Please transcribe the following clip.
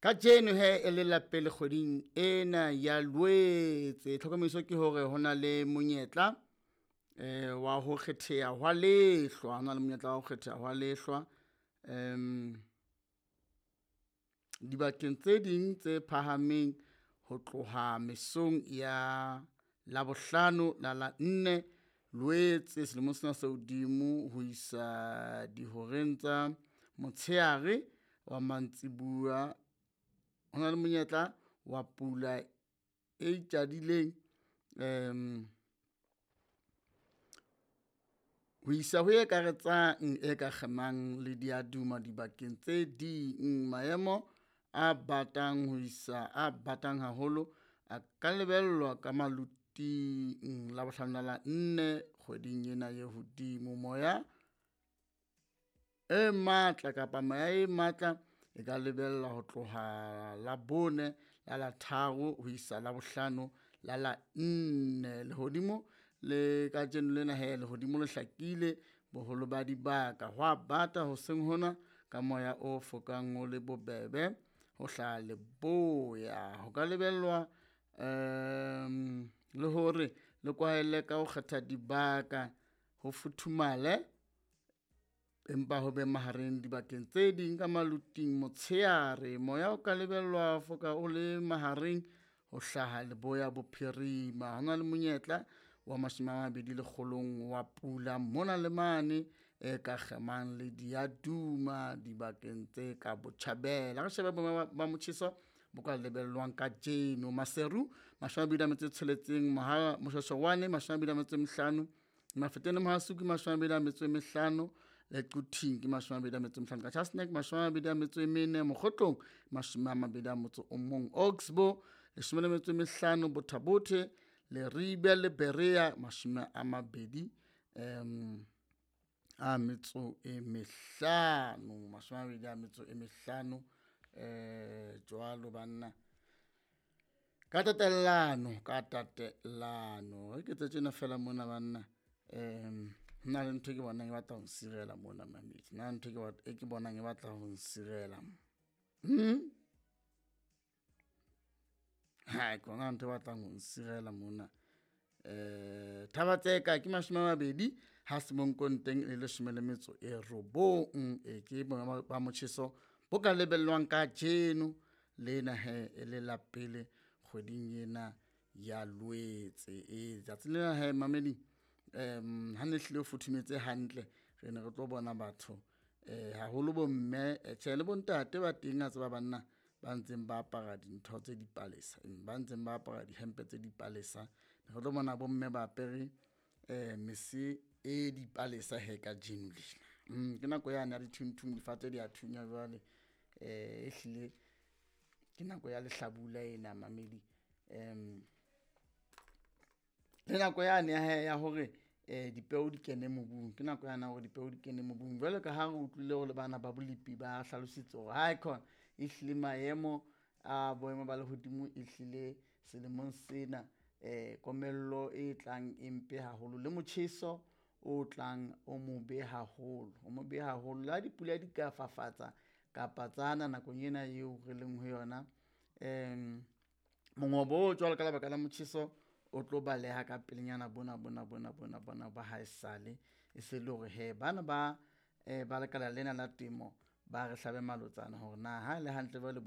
Kajeno he e le la pele kgweding ena ya Loetse, tlhokomediso ke hore ho na le monyetla wa ho kgetheha hwa lehlwa, ho na le monyetla wa ho kgetheha hwa lehlwa dibakeng tse ding tse phahameng ho tloha mesong ya Labohlano la la nne Loetse selemong sena se hodimo ho isa dihoreng tsa motshehare wa mantsiboya. Ho na le monyetla wa pula e itjadileng ho isa ho e ekaretsang e ka kgemang le diaduma dibakeng tse ding. Maemo a batang ho isa a batang haholo a ka lebellwa ka maloting Labohlano la la nne kgweding ena e hodimo. Moya e matla kapa meya e matla e ka lebellwa ho tloha Labone la la tharo ho isa Labohlano la la nne. Lehodimo le kajeno lena he lehodimo le hlakile boholo ba dibaka, hwa bata hoseng hona ka moya o fokang o le bobebe ho hlaha leboya. Ho ka lebellwa le hore le kwahele ka ho kgetha dibaka ho futhumale, empa ho be mahareng dibakeng tse ding ka maloting motshehare. Moya o ka lebellwa ho foka o le mahareng ho hlaha leboya bophirima. Ho na le monyetla wa 20 lekgolong wa pula mona le mane e ka kgemang le diaduma dibakeng tse ka botjhabela. Re shebe boemo ba motjheso bo ka lebellwang kajeno. Maseru 26, Moshweshwe 25, Mafeteng le Mohale's Hoek 25, le Quthing ke 25, Qacha's Nek 24, Mokhotlong 21, Oxbow 15, Botha Bothe, Leribe le Berea 20 a metso e mehlano, 20 a metso e mehlano jwalo banna. Ka tatellano, ka tatellano. Re ke etse tjena fela mona banna. Ho na le ntho e ke bonang e batla ho nsirela mona mamedi. Na ntho e ke bonang e batla ho nsirela. Ha, ke bona ntho e batlang ho nsirela mona. Thaba Tseka ke 20, ha Semonkong teng e le 19. E ke boemo ba motjheso bo ka lebellwang kajeno lena he e le la pele kgweding ena ya Loetse. E tsatsing lena he mamedi, ha ne hlile ho futhumetse hantle, re ne re tlo bona batho haholo bo mme, tjhe le bontate ba teng a tseba banna ba ntseng ba apara dintho tse dipalesa, ba ntseng ba apara dihempe tse dipalesa. Re tlo bona bomme ba apere mese e dipalesa he kajeno lena. Ke nako yane ya dithunthung, difate di a thunya jwale. Ehlile ke nako ya lehlabula ena mamedi. Le nako yane ya he ya hore dipeo di kene mobung, ke nako yane ya hore dipeo di kene mobung. Jwalo ka ha re utlwile hore le bana ba bolepi ba hlalositse hore hae khona ehlile maemo a boemo ba lehodimo ehlile selemong sena komello e tlang e mpe haholo le motjheso o tlang o mobe haholo, o mobe haholo. Le ha dipula di ka fafatsa kapa tsana nakong ena eo re leng ho yona, mongobo o jwalo ka lebaka la motjheso o tlo baleha ka pelenyana bona bona bona bona bona ba haesale. E se le hore he bana ba ba lekala lena la temo ba re hlabe malotsana hore na ha e le hantle jwale boemo.